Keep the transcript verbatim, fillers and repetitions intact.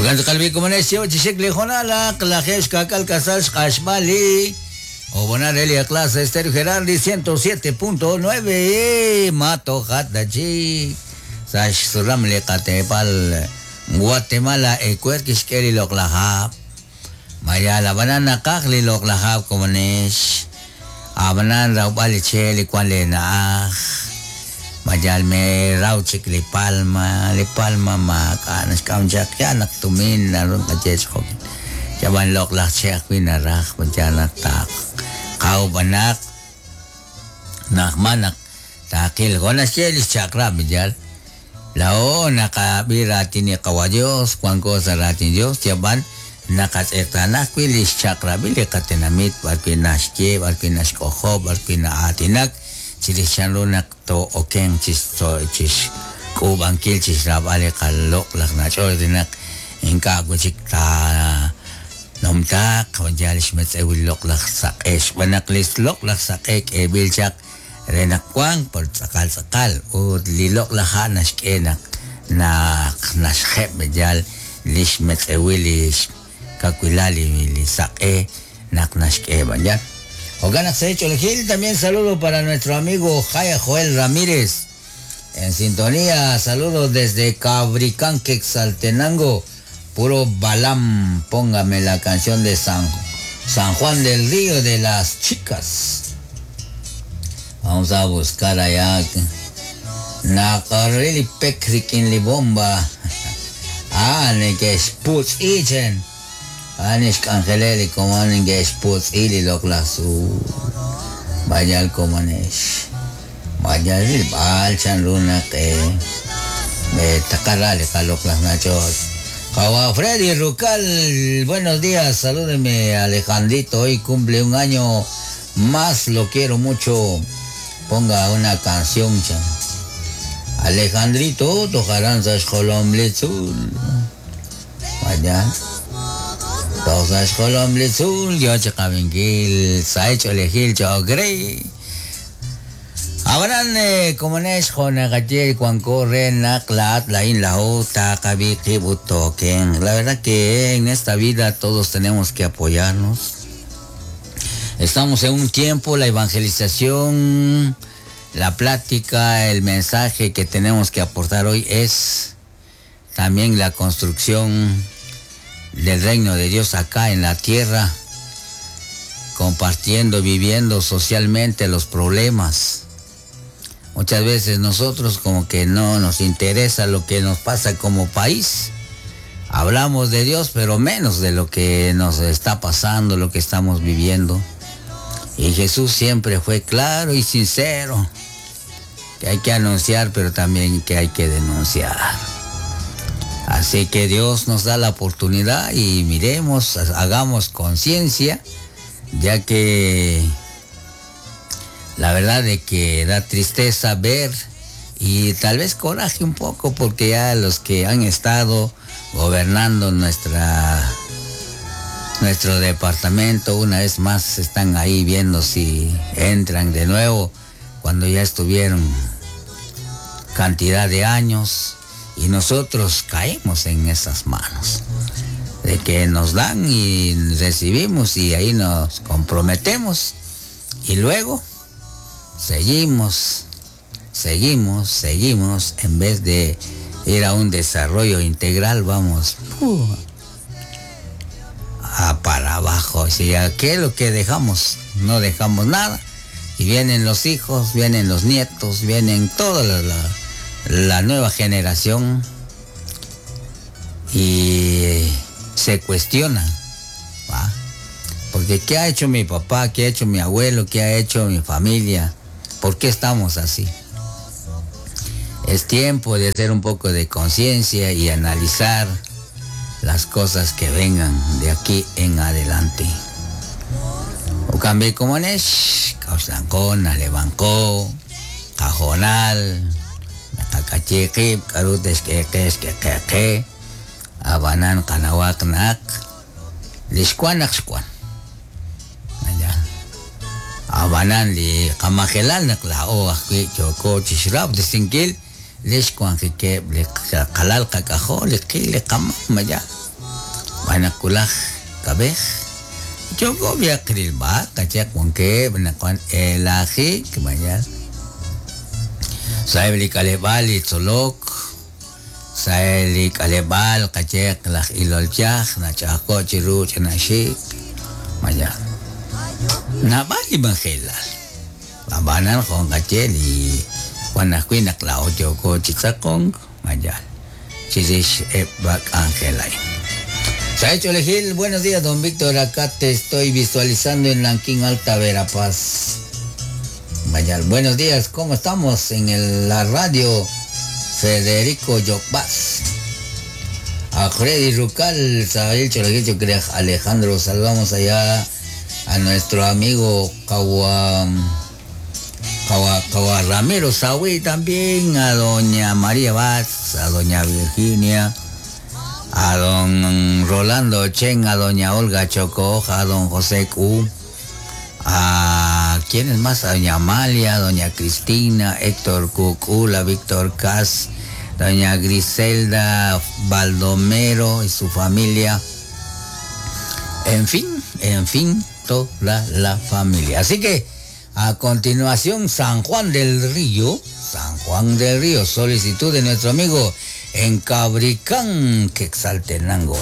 Ogan qalbi komonex yo chixik li jonalaq lajex kakal kasal xqaxbali Obonare li clase Estéreo Gerardi ciento siete punto nueve Mato Jatachi Sash Suram li Qatepal Guatemala Ecuerquix Keli Loqlajab Maya la banana qaj li Loqlajab komonex Abanan raubali che li kuan le naaj Mayal me rauchik li palma li palma ma kanas kamchak yanak tumin narun kachech jokin Yaban loqlaj che ajwin araj mayanak taq Kau banak nakmanak takil gonas chelis chakra bijal lao nakabira tini kawa Dios kuan cosa ratin Dios yaban nakatetanak wilis chakra bili katenamit barki naxke barki naxkojo barki naatinak chilichan lunak to oken chis to chis kubankil chis rabale kalok lak nachordinak inka guchik ta nomtak wanjalish metzewil loqlaj saqex banaqlis loqlaj saqek ebilchaq renaqwan por tzaqal tzaqal ut li loqlaj naxk'enak naq naxjeb bejal lix metzewilish kakwilali li saqe naq naxk'e banjal. Oganak Secho Gil, también saludo para nuestro amigo Jaya Joel Ramírez en sintonía, saludos desde Cabricán, Quetzaltenango. Puro Balam, póngame la canción de San, San Juan del Río de las Chicas. Vamos a buscar allá. Nakarili pekrikin li bomba. Ah, ni que sputz ichen. Ah, ni xkangeleli como ni que sputz ili loklasu. Vaya como nesh. Vaya el balchan luna que me takarale kaloklas nachos. Kawa Freddy Rucal, buenos días, salúdeme Alejandrito, hoy cumple un año más, lo quiero mucho, ponga una canción, chan. Alejandrito, tojarán sashkolom litzul, vaya, tojarán litzul, yo chakavinkil, saecho lejil, chogrey. Abaran como nes jonagaye cuan corre naklat la in la ota kabiki butoken. La verdad que en esta vida todos tenemos que apoyarnos. Estamos en un tiempo, la evangelización, la plática, el mensaje que tenemos que aportar hoy es también la construcción del reino de Dios acá en la tierra, compartiendo, viviendo socialmente los problemas. Muchas veces nosotros como que no nos interesa lo que nos pasa como país. Hablamos de Dios, pero menos de lo que nos está pasando, lo que estamos viviendo. Y Jesús siempre fue claro y sincero, que hay que anunciar, pero también que hay que denunciar. Así que Dios nos da la oportunidad y miremos, hagamos conciencia, ya que la verdad de que da tristeza ver y tal vez coraje un poco, porque ya los que han estado gobernando nuestra, nuestro departamento una vez más están ahí viendo si entran de nuevo cuando ya estuvieron cantidad de años, y nosotros caemos en esas manos de que nos dan y recibimos y ahí nos comprometemos y luego seguimos, seguimos, seguimos, en vez de ir a un desarrollo integral, vamos uh, a para abajo. O sea, ¿qué es lo que dejamos? No dejamos nada. Y vienen los hijos, vienen los nietos, vienen toda la, la, la nueva generación y se cuestiona, ¿va? Porque ¿qué ha hecho mi papá? ¿Qué ha hecho mi abuelo? ¿Qué ha hecho mi familia? ¿Por qué estamos así? Es tiempo de hacer un poco de conciencia y analizar las cosas que vengan de aquí en adelante. Okambe komonesh, kauslancón, alebanco, cajonal, nakakachiqib, karutes queques, quequeque, abanan, kanawak, nak, lixkuan, axkuan. Abanan li kamajelal nak lao ajwi choko chishrab disinkil lixkuan jikeb li qalal qakajo li qil li qamam maya. Wan kulaj kab'ej yoko biaq rilb'al qachaq wankeb' naq wan elajik mayal sa'eb' li k'aleb'aal li tzolok sa'eb' li k'aleb'aal qayeq laj ilol yaj nach'ajko' chiru ch'inaxik mayal naab'al li majelal ab'anan jon qaye li wan ajwi' naq laa'o yoko chi tz'aqonk mayal chirix eb' k'anjel a'in. Saecho Gil, buenos días, don Víctor. Acá te estoy visualizando en Lanquín Alta, Verapaz. Mayal, buenos días, ¿cómo estamos en el, la radio? Federico Yocbaz. A Freddy Rucal, Sael Cholaguicho, Alejandro, saludamos allá a nuestro amigo Kawa, Kawa, Kawa Ramiro Saúl también, a doña María Vaz, a doña Virginia, a don Rolando Chen, a doña Olga Chocoja, a don José Q, a quiénes más, a doña Amalia, doña Cristina, Héctor Cucula, Víctor Cas, doña Griselda Baldomero y su familia. En fin, en fin, toda la familia. Así que a continuación, San Juan del Río, San Juan del Río, solicitud de nuestro amigo en Cabricán, Quetzaltenango.